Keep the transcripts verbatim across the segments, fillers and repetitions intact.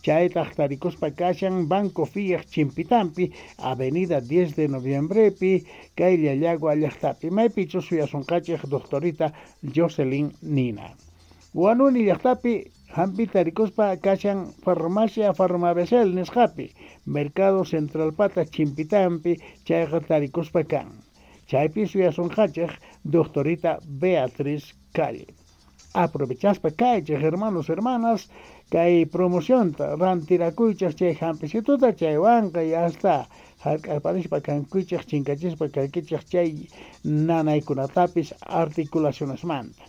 Chaytaq tarikuspa kashan Banco Fiat chimpitampi, Avenida diez de Noviembrepi, kay Llallagua llaqtapi, maypichus suyasunqachik doctorita Jocelyn Nina. Huanuni llaqtapi hampi tarikuspa kashan Farmacia Farmabesel nisqapi, Mercado Central pata chimpitampi, chayqa tarikuspa kan. Chaypi suyasunqachik doctorita Beatriz Calle. Aprovechaspa kaychik, hermanos, hermanas, kay promocionta rantirakuychik chay hampisituta, chaywanqa ya está hark'arparispa kankuychik, chinkachispa kankichik chay nanaykunatapis articulacionesmanta.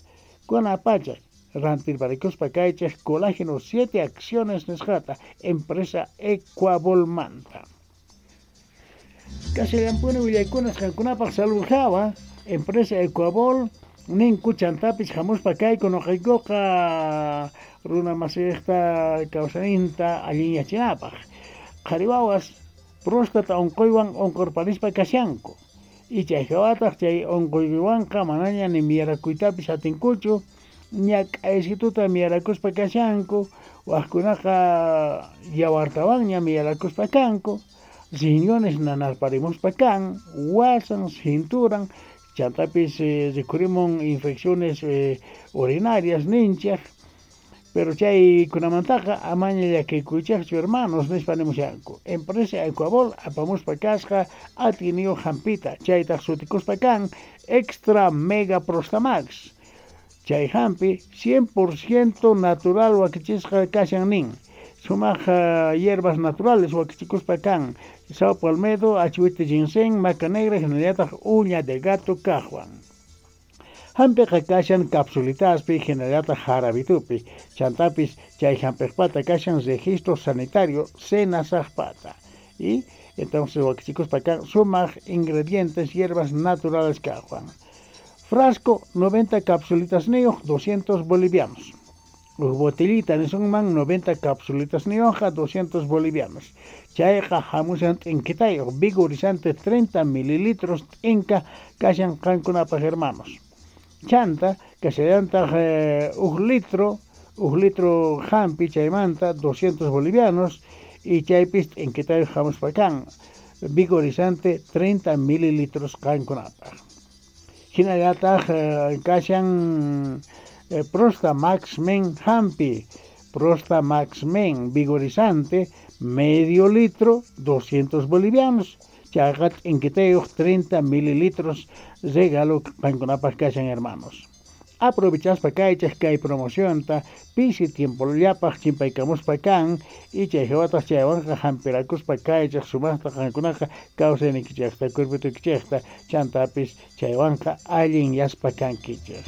Kunapacha rantirparikuspa kaychik colágeno siete acciones nisqata, empresa Ecuabolmanta. Kashallampuni willaykunas qankunapaq salud hawa, empresa Ecuabol ninku chantapis hamuspa kayku nuqaykuqa runa masiyqta kawsayninta allinyachinapaq. Qhari wawas próstata unquywan unqurparispa kashanku. Y chay hawataq chay unquywanqa manaña ni miyarakuytapis atinkuchu, ñak'aysituta miyarakuspa kashanku, waqkunaqa yawartawanña miyarakuspa kanku, riñones nanarparimuspa kan, wasan, cinturan, chantapis eh, rikhurimun infecciones eh, urinarias ninchik. Pero chay kunamantaqa amaña llakikuychikchu, hermanos, nispa nimushanku. Empresa Ecuabol apamuspa kasqa atiniyu hampita, chaytaq sutikuspa kan Extra Mega Prostamax. Chay hampi cien por ciento natural wakichisqa kashan nin. Sumaq uh, hierbas naturales wakichikuspa kan. Sao palmedo, achihuite ginseng, maca negra, hinallataq uña de gato kaqwan. Hampiqa kashan capsulitaspi, hinallataq jarabitupi. Chantapis chay hampiqpata kashan registro sanitario senasaqpata. Y entonces wakichikuspa kan sumaq ingredientes, hierbas naturales kaqwan. Frasco noventa capsulitas niyuq, doscientos bolivianos. Uj botellita nisunman noventa capsulitas niyuqqa, doscientos bolivianos. Chayqa hamushan t'inkitayuq, vigorizante treinta mililitros t'inka kashan qankunapaq, hermanos. Chanta kashallantaq eh, uj litro, uj litro hampi chaymanta doscientos bolivianos y chaypis t'inkitayuq hamuspa kan, vigorizante treinta mililitros qankunapaq. Hinallataq eh, kashan eh, Prosta Max Men hampi, Prosta Max Men vigorizante medio litro doscientos bolivianos. Chayqa t'inkitayuq treinta mililitros regalo qankunapaq kashan, hermanos. Aprovechaspa kaychik kay promocionta, pisi tiempollapaq chimpaykamuspa kan, y chay hawataq chaywanqa hampirakuspa kaychik sumaqta qankunaqa kawsaynikichikta, cuerpitukichikta, chantapis chaywanqa allinyaspa kankichik.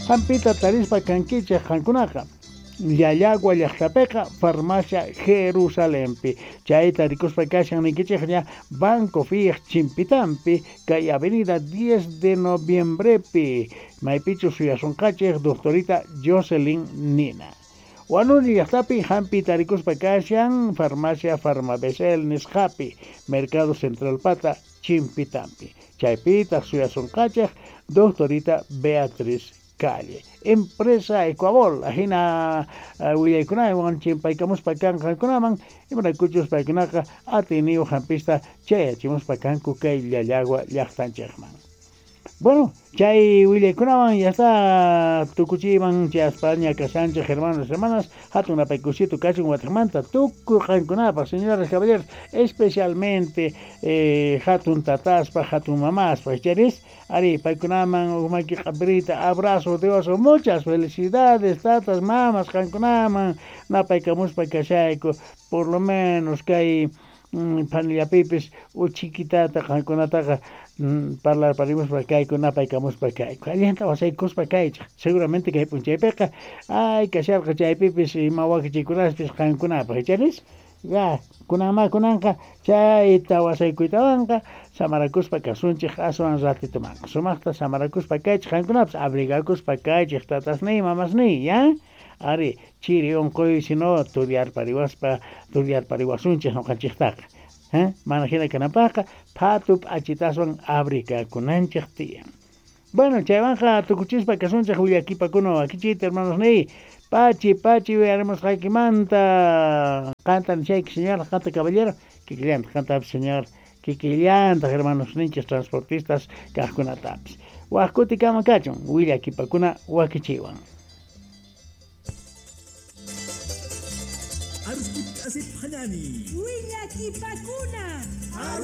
Hampita tarispa kankichik qankunaqa Llallagua llaqtapiqa Farmacia Jerusalempi. Chayta rikuspa kashan nikichikña Banco Fiat chimpitampi, kay Avenida diez de Noviembrepi, maypichu suyasunqachik doctorita Jocelyn Nina. Huanuni llaqtapi hampi tarikuspa kashan Farmacia Farmabesel nisqapi, Mercado Central pata chimpitampi. Chaypitaq suyasunqachik doctorita Beatriz Calle. Empresa Ecuabol, ajina uh, willaykunawan chimpaykamuspa kan qankunaman, imaraykuchus paykunaqa atiniyu hampista chayachimuspa kanku kay Llallagua llaqtanchikman. Bueno, chay willaykunawan ya está tukuchiyman chayaspaña kashanchik, hermanos, hermanas, hatun napaykusitu kachun watiqmanta tukuy qankunapaq, señoras, caballeros, especialmente eh, hatun tataspa, hatun mamaspa, charis, ari paykunaman uqmaki q'apirita, abrazo de oso, muchas felicidades, tatas, mamas, qankunaman napaykamuspa kashayku, por lo menos kay mm, panillapipis uchikitata qankunataqa mm, parlarparimuspa kayku, napaykamuspa kayku, allinta wasaykuspa kaychik, seguramente kay p'unchaypiqa ay kasharqa chaypipis ima wakichikunaspis qankunapaq, charis? Ya, kunanma kunanqa chayta wasaykuytawanqa samarakuspa kasunchik aswan ratitumanqa. Sumaqta samarakuspa kaychik qankunapas, abrigakuspa kaychik tatasniy, mamasniy, ya? Ari, chiri unquy sino turyarpariwaspa, turyarpariwasunchik nuqanchiktaqa. ¿Eh? Mana hina kanapaqqa phatu p'achitaswan abrigakunanchik tiyan. Bueno, chaywanqa tukuchispa kasunchik willakipakuna wakichiyta, hermanos niy. Pachi, pachi uyarimusqaykimanta. Qanta nishayki señor, qanta caballero, kikillantaq qantapis señor, kikillantaq hermanos ninchis transportistas kaqkunatapis. Waq kutikama kachun, willakipakuna wakichiwan. Willakipakuna.